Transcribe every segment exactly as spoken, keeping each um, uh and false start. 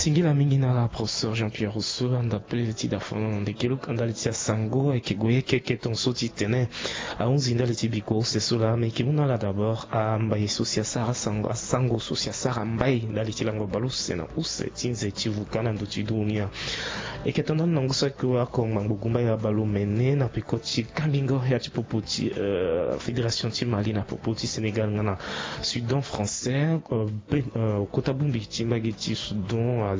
Singila mingi na ala professeur Jean-Pierre Rousseau, anda pele ti da fono na ndeke luka ndali ti asango ayeke gue yeke keke ton so ti tene ahunzi ndali ti biko use so laa. Me yeke mu na ala d'abord ambai so si asara asango asango so si asara mbai ndali ti lango baleuse na use ti nze ti vuka na ndo ti dunia. Eke tondani na ngu saki wa ako ngbangbo gumba ya balo mene na peko ti kambingo ya ti popo ti fédération ti Mali na popo ti Sénégal nga na Soudan français. Kota bongbi ti mbage ti Soudan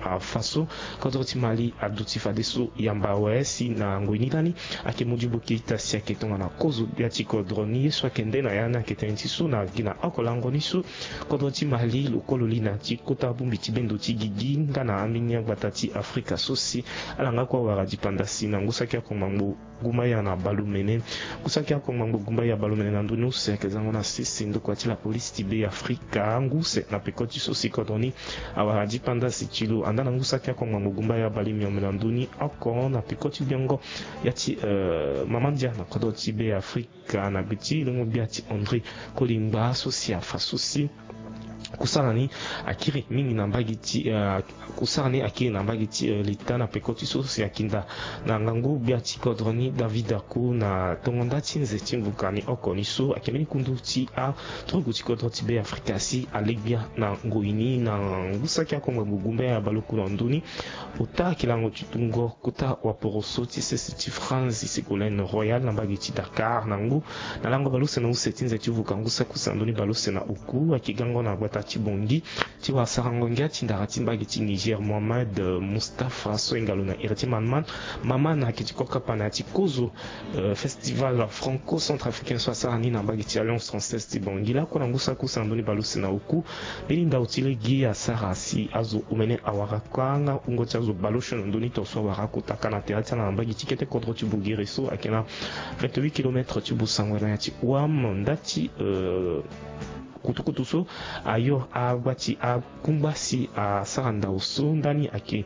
afa so kodro ti Mali aduti fadeso yamba awe si na ngoi ni lani ayeke mu dibo keita si ayeke tongana kozo gbia ti kodro ni ye so ayeke nde na ya ni ayeke tënë ti so na gi na oko lango ni so kodro ti Mali lo kue lo li na ti kota bongbi ti bendo ti gigi nga na ambeni agbata ti Afrika so si ala nga kue awara dipanda si na ngu saki ako ngbangbo gumba ya na balo mene. Ngu saki ako ngbangbo gumba ya balo mene na ndoni use ayeke zango na sese ndokua ti lapolisi ti Be Afrika ngu use na peko ti so si kodro ni awara dipanda si ti lo anda na ngu saki ako ngbangbo gumba ya balo miombe na ndoni oko na peko ti gbiongo ya ti mama ndia na kodro ti Be Afrika. Ka na gbe ti longo gbia ti André Kolingba so si afa so si kusara ni akiri mingi na mbage ti kusara ni akiri na mbage ti leta na peko ti so si akinda na ngangu gbia ti kodro ni David Ako na tongo nda ti nze ti mvuka ni oko ni so ayeke mbeni kundu ti aturugu ti kodro ti Be Afrika si alegbia na ngoi ni na ngu saki ako ngbangbo gumba ya balo ku na ndoni. Ota ayeke lango ti tungo kota waporoso ti sese ti France Ségolène Royal na mbage ti Dakar na ngu na lango baleuse na use ti nze ti vuka ngu saki use na ndoni baleuse na oku ayeke gango na gbata ti Bangui ti wara sarango ngia ti ndara ti mbage ti Niger Mohamed Moustapha so ahinga lo na Héritier Maman. Maman ayeke ti kota kapa na ya ti kozo festival franco-centrafricain so asara ni na mbage ti Alliance française ti Bangui lakue na ngu saki use na ndoni baleuse na oku. Mbeni ndau ti lege asara si azo omene awara kanga wungo ti azo baleuse na ndoni tongaso awara akota ka na tere ti ala na mbage ti kete kodro ti Bogere so ayeke na vingt-huit kilomètres ti Bossangoa na ya ti Ouham nda ti kutukutu so ayo agba ti akungba si asara ndau so ndani ayeke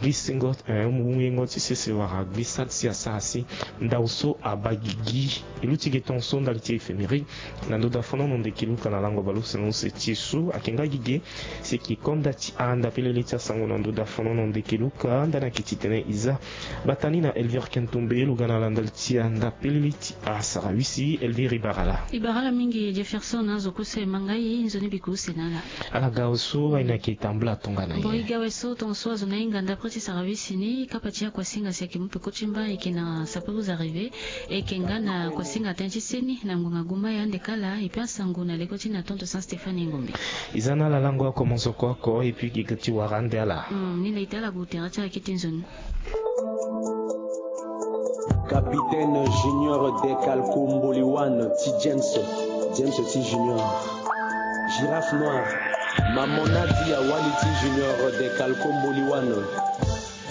gbisengo yengo ti sese wala gbisa si asara si ndau so abaa gigi. E luti ge tongaso ndali ti infirmerie na ndo da fonono ndeke luka na lango baleuse na use ti e so ayeke nga gigi. Si eke konda ti anda pelele ti asango na ndo da fonono ndeke luka ndani ayeke ti tene e za bata ni na Elvire Kentombe lo ga na ala ndali ti anda pelele ti asara wisi. Elvire e bara ala. E bara ala mingi Jefferson na azo kue so e ma ngai nzoni biko use na ala. Ala ga awe so aye ni ayeke tambula tongana ye. Bon e ga awe so tongaso azo na hinga ndapre ti sara wisi ni kapa ti akuasinga si ayeke mu peko ti mba ayeke na sapeur aux arrivés. E yeke nga na kuasinga tënë ti seni na ngonga gumba ya ande kala e pe asango na leko ti na tonto Saint Stéphane Ngombe. E za na ala lango oko mozoko oko et puis gi ga ti wara ande ala. Ni laa e ta ala gue tere ti ala kete nzoni. Capitaine Junior Decalco Mboliwan ti James. James ti Junior. Girafe noire. Mamona di awali ti Junior Decalco Mboliwan.